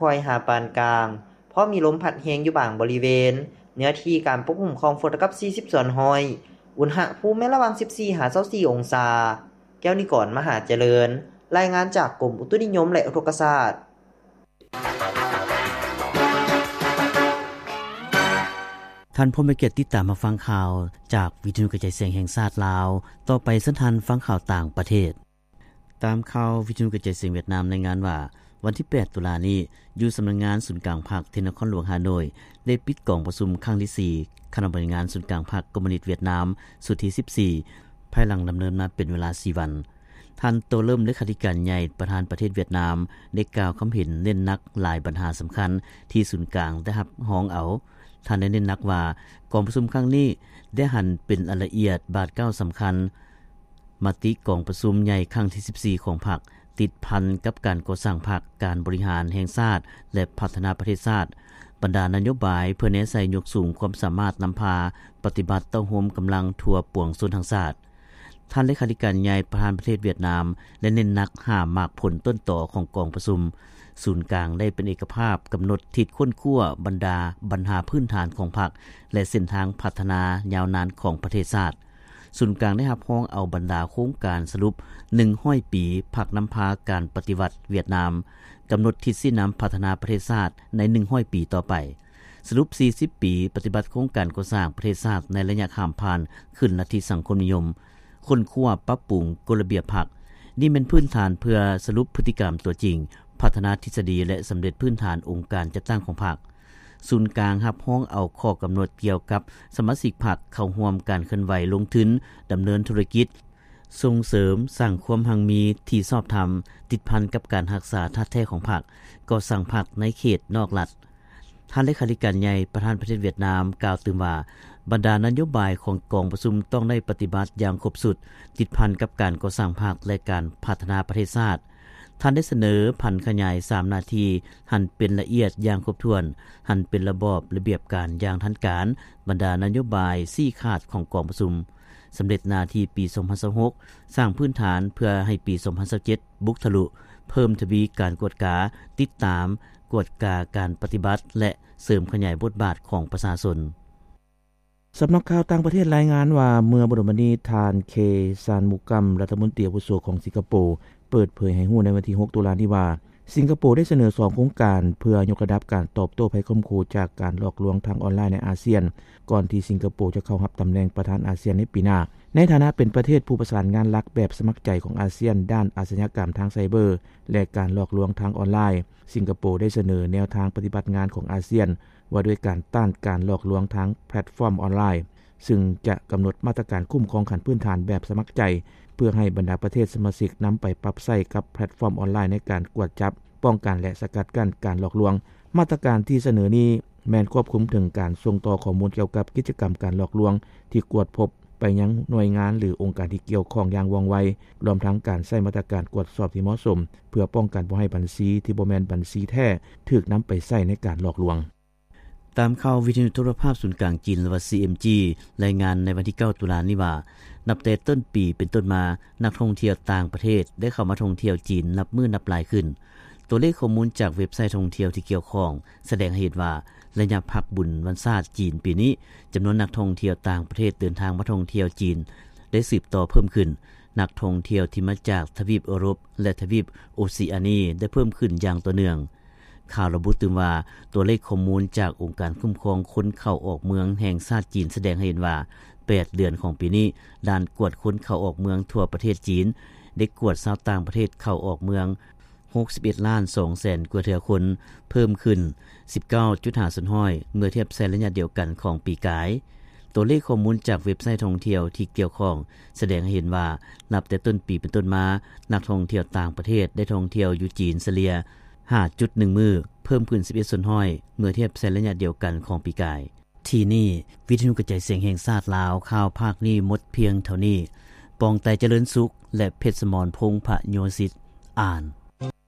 ຄ່ອຍຫາປານກາງ, ເພາະມີລົມພັດແຮງຢູ່ບາງບໍລິເວນ. ເນື້ອທີ່ການປົກຄຸມຂອງຝົນເທົ່າກັບສີ່ສິບສ່ວນຮ້ອຍ. ອຸນຫະພູມແມ່ນລະຫວ່າງສິບສີ່ຫາຊາວສີ່ອົງສາ. ແກ້ວນິກອນ ມະຫາຈະເລີນ, ລາຍງານຈາກກົມອຸຕຸນິຍົມ ແລະ ອຸທົກກະສາດ. ທ່ານຜູ້ມີກຽດຕິດຕາມຮັບຟັງຂ່າວຈາກວິທະຍຸກະຈາຍສຽງແຫ່ງຊາດລາວ. ຕໍ່ໄປເຊີນທ່ານຟັງຂ່າວຕ່າງປະເທດ. ຕາມຂ່າວ ວິທະຍຸກະຈາຍສຽງຫວຽດນາມລາຍງານວ່າ ວັນທີແປດຕຸລານີ້ ຢູ່ສຳນັກງານສູນກາງພັກທີ່ນະຄອນຫຼວງຮ່າໂນ້ຍ ໄດ້ປິດກອງປະຊຸມຄັ້ງທີສີ່ ຄະນະບໍລິຫານງານສູນກາງພັກຄອມມູນິດຫວຽດນາມ ຊຸດທີສິບສີ່ ພາຍຫຼັງດຳເນີນມາເປັນເວລາສີ່ວັນ. ທ່ານ ໂຕເລີມ ເລຂາທິການໃຫຍ່ ປະທານປະເທດຫວຽດນາມ ໄດ້ກ່າວຄຳເຫັນເນັ້ນໜັກຫຼາຍບັນຫາສຳຄັນທີ່ສູນກາງໄດ້ຮັບຮອງເອົາ. ທ່ານໄດ້ເນັ້ນໜັກວ່າ ກອງປະຊຸມຄັ້ງນີ້ໄດ້ຫັນເປັນລາຍລະອຽດບາດກ້າວສຳຄັນ ມະຕິກອງປະຊຸມໃຫຍ່ຄັ້ງທີສິບສີ່ຂອງພັກ ຕິດພັນກັບການກໍ່ສ້າງພັກ, ການບໍລິຫານແຫ່ງຊາດ ແລະ ພັດທະນາປະເທດຊາດ, ບັນດານະໂຍບາຍເພື່ອແນໃສ່ຍົກສູງຄວາມສາມາດນຳພາປະຕິບັດເຕົ້າໂຮມກຳລັງທົ່ວປວງຊົນທັງຊາດ. ທ່ານເລຂາທິການໃຫຍ່ປະທານປະເທດຫວຽດນາມ ໄດ້ເນັ້ນໜັກຫາໝາກຜົນຕົ້ນຕໍຂອງກອງປະຊຸມ. ສູນກາງໄດ້ເປັນເອກະພາບກຳນົດທິດຄົ້ນຄວ້າບັນດາບັນຫາພື້ນຖານຂອງພັກ ແລະ ເສັ້ນທາງພັດທະນາຍາວນານຂອງປະເທດຊາດ. ສູນກາງໄດ້ຮັບຮອງເອົາບັນດາໂຄງການສະຫຼຸບໜຶ່ງຮ້ອຍປີພັກນຳພາການປະຕິວັດຫວຽດນາມ, ກຳນົດທິດຊີ້ນຳພັດທະນາປະເທດຊາດໃນໜຶ່ງຮ້ອຍປີຕໍ່ໄປ, ສະຫຼຸບສີ່ສິບປີປະຕິບັດໂຄງການກໍ່ສ້າງປະເທດຊາດໃນໄລຍະຂ້າມຜ່ານຂຶ້ນລັດທິສັງຄົມນິຍົມ, ຄົ້ນຄວ້າປັບປຸງກົດລະບຽບພັກ. ນີ້ແມ່ນພື້ນຖານເພື່ອສະຫຼຸບພຶດຕິກຳຕົວຈິງ, ພັດທະນາທິດສະດີ ແລະ ສຳເລັດພື້ນຖານອົງການຈັດຕັ້ງຂອງພັກ. ສູນກາງຮັບຮອງເອົາຂໍ້ກຳນົດກ່ຽວກັບສະມາຊິກພັກເຂົ້າຮ່ວມການເຄື່ອນໄຫວລົງທຶນດຳເນີນທຸລະກິດ, ສົ່ງເສີມສ້າງຄວາມຮັ່ງມີທີ່ຊອບທຳ, ຕິດພັນກັບການຮັກສາທາດແທ້ຂອງພັກ, ກໍ່ສ້າງພັກໃນເຂດນອກລັດ. ທ່ານເລຂາທິການໃຫຍ່ປະທານປະເທດຫວຽດນາມກ່າວຕື່ມວ່າ ບັນດານະໂຍບາຍຂອງກອງປະຊຸມຕ້ອງໄດ້ປະຕິບັດຢ່າງຄົບຊຸດ, ຕິດພັນກັບການກໍ່ສ້າງພັກ ແລະ ການພັດທະນາປະເທດຊາດ. ທ່ານໄດ້ສະເໜີຜັນຂະຫຍາຍສາມໜ້າທີ່ໃຫ້ເປັນລະອຽດຢ່າງຄົບຖ້ວນ, ໃຫ້ເປັນລະບອບລະບຽບການຢ່າງທັນການ, ບັນດານະໂຍບາຍຊີ້ຂາດຂອງກອງປະຊຸມ, ສຳເລັດໜ້າທີ່ປີສອງພັນຊາວຫົກ, ສ້າງພື້ນຖານເພື່ອໃຫ້ປີສອງພັນຊາວເຈັດບຸກທະລຸ, ເພີ່ມທະວີການກວດກາ, ຕິດຕາມ, ກວດກາການປະຕິບັດ ແລະ ເສີມຂະຫຍາຍບົດບາດຂອງປະຊາຊົນ. ສຳນັກຂ່າວຕ່າງປະເທດລາຍງານວ່າ ເມື່ອບໍ່ດົນມານີ້ ທ່ານ ເຄ ຊານມຸກຳ ລັດຖະມົນຕີອາວຸໂສຂອງສິງກະໂປ ເປີດເຜີຍໃຫ້ຮູ້ໃນວັນທີຫົກຕຸລານີ້ວ່າ ສິງກະໂປໄດ້ສະເໜີສອງໂຄງການ ເພື່ອຍົກລະດັບການຕອບໂຕ້ໄພຂົ່ມຂູ່ຈາກການຫຼອກລວງທາງອອນລາຍໃນອາຊຽນ ກ່ອນທີ່ສິງກະໂປຈະເຂົ້າຮັບຕຳແໜ່ງປະທານອາຊຽນໃນປີໜ້າ. ໃນຖານະເປັນປະເທດຜູ້ປະສານງານຫຼັກແບບສະໝັກໃຈຂອງອາຊຽນ ດ້ານອາຊະຍາກຳທາງໄຊເບີ ແລະ ການຫຼອກລວງທາງອອນລາຍ, ສິງກະໂປໄດ້ສະເໜີແນວທາງປະຕິບັດງານຂອງອາຊຽນ ວ່າດ້ວຍການຕ້ານການຫຼອກລວງທາງແພລດຟອມອອນລາຍ, ຊຶ່ງຈະກຳນົດມາດຕະການຄຸ້ມຄອງຂັ້ນພື້ນຖານແບບສະໝັກໃຈ ເພື່ອໃຫ້ບັນດາປະເທດສະມາຊິກນຳໄປປັບໃຊ້ກັບແພລດຟອມອອນລາຍໃນການກວດຈັບ, ປ້ອງກັນ ແລະ ສະກັດກັ້ນການຫຼອກລວງ. ມາດຕະການທີ່ສະເໜີນີ້ແມ່ນຄວບຄຸມເຖິງການສົ່ງຕໍ່ຂໍ້ມູນກ່ຽວກັບກິດຈະກຳການຫຼອກລວງທີ່ກວດພົບໄປຍັງໜ່ວຍງານ ຫຼື ອົງການທີ່ກ່ຽວຂ້ອງຢ່າງວ່ອງໄວ, ລວມທັງການໃຊ້ມາດຕະການກວດສອບທີ່ເໝາະສົມ ເພື່ອປ້ອງກັນບໍ່ໃຫ້ບັນຊີທີ່ບໍ່ແມ່ນບັນຊີແທ້ຖືກນຳໄປໃຊ້ໃນການຫຼອກລວງ. ຕາມຂ່າວວິທະຍຸໂທລະພາບສູນກາງຈີນ ຫຼືວ່າ ຊີເອັມຈີ ລາຍງານໃນວັນທີເກົ້າຕຸລານີ້ວ່າ ນັບແຕ່ຕົ້ນປີເປັນຕົ້ນມາ, ນັກທ່ອງທ່ຽວຕ່າງປະເທດໄດ້ເຂົ້າມາທ່ອງທ່ຽວຈີນນັບມື້ນັບຫຼາຍຂຶ້ນ. ຕົວເລກຂໍ້ມູນຈາກເວັບໄຊທ່ອງທ່ຽວທີ່ກ່ຽວຂ້ອງສະແດງໃຫ້ເຫັນວ່າ ໄລຍະພັກບຸນວັນຊາດຈີນປີນີ້, ຈຳນວນນັກທ່ອງທ່ຽວຕ່າງປະເທດເດີນທາງມາທ່ອງທ່ຽວຈີນໄດ້ສືບຕໍ່ເພີ່ມຂຶ້ນ. ນັກທ່ອງທ່ຽວທີ່ມາຈາກທະວີບເອີຣົບ ແລະ ທະວີບໂອເຊອານີໄດ້ເພີ່ມຂຶ້ນຢ່າງຕໍ່ເນື່ອງ. ຂ່າວລະບຸຕື່ມວ່າ ຕົວເລກຂໍ້ມູນຈາກອົງການຄຸ້ມຄອງຄົນເຂົ້າອອກເມືອງແຫ່ງຊາດຈີນສະແດງໃຫ້ເຫັນວ່າ ແປດເດືອນຂອງປີນີ້, ດ່ານກວດຄົນເຂົ້າອອກເມືອງທົ່ວປະເທດຈີນ ໄດ້ກວດຊາວຕ່າງປະເທດເຂົ້າອອກເມືອງ ຫົກສິບເອັດລ້ານສອງແສນກວ່າເທື່ອຄົນ, ເພີ່ມຂຶ້ນສິບເກົ້າຈຸດຫ້າສ່ວນຮ້ອຍ ເມື່ອທຽບໃສ່ໄລຍະດຽວກັນຂອງປີກາຍ. ຕົວເລກຂໍ້ມູນຈາກເວັບໄຊທ່ອງທ່ຽວທີ່ກ່ຽວຂ້ອງສະແດງໃຫ້ເຫັນວ່າ ນັບແຕ່ຕົ້ນປີເປັນຕົ້ນມາ, ນັກທ່ອງທ່ຽວຕ່າງປະເທດໄດ້ທ່ອງທ່ຽວຢູ່ຈີນສະເລ່ຍຫ້າຈຸດໜຶ່ງມື້, ເພີ່ມຂຶ້ນສິບເອັດສ່ວນຮ້ອຍ ເມື່ອທຽບໃສ່ໄລຍະດຽວກັນຂອງປີກາຍ. ທີ່ນີ້ ວິທະຍຸກະຈາຍສຽງແຫ່ງຊາດລາວ, ຂ່າວພາກນີ້ໝົດພຽງເທົ່ານີ້. ປອງໄຕ ຈະເລີນສຸກ ແລະ ເພັດສະໝອນ ພົງພະໂຍສິດ ອ່ານ.